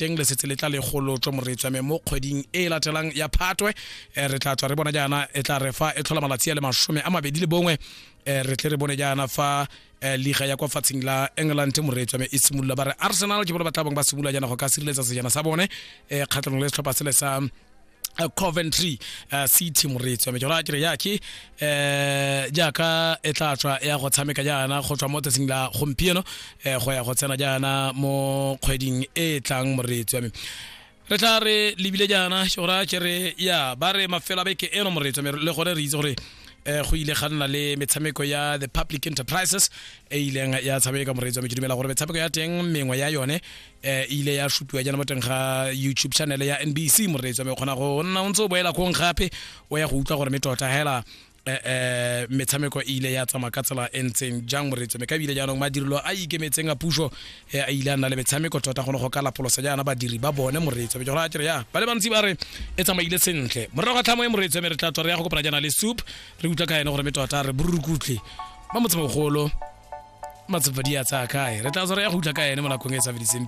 Teng le setse le tla le golotswe, moreetsi wa me, mo kgweding e e latelang ya Phatwe. Re tla tswa re bona jaana e tla re fa e tlhola malatsi a le 21, re tle re bone jaana fa liga ya kwa fatsheng la England, moreetsi wa me, e simolola. Ba re Arsenal ke bone ba tla bong ba simolola jaana go ka sireletsa sejana sa bone kgatlhanong le setlhopha sele sa Coventry City, moreetsi wa me. Jora ke re yake jaaka e tla tswa ya go tshameka jaana go tswa mo tsatsing la gompieno go ya go tsena jaana mo kgweding e tlang, moreetsi wa me. Re tla re lebile jaana jora ke re ya ba re mafelo a beke eno, moreetsi wa me, le gone re itse gore go ile ga nna le metshameko ya the Public Enterprises e ileng ya tshameka, moreetsi wa me. Ke dumela gore metshameko ya teng, mengwe ya yone, e ile ya supiwa jaana mo teng ga YouTube channel ya NBC, moreetsi wa me. Kgona go nna o ntse o boela kong gape o ya go utlwa gore me tota hela metshameko e ile ya tsamaya ka tsela e ntseng jang, moreetsi wa me. Ka ebile jaanong madirelo a ikemetseng a puso a ile a nna le metshameko tota gone go ka lapolosa jaana badiri ba bone, moreetsi wa me. Jora kere ya ba le bantsi ba re e tsamaile sentle. Morago ga tlhamo e, moreetsi wa me, re tla tswa re ya go kopana jaana le Soup, re utlwa ka ene gore me tota re borukutlhi ba motsemogolo matsapa di a tsaya kae. Re tla tswa re ya go utlwa ka ene mo nakong e e sa fediseng.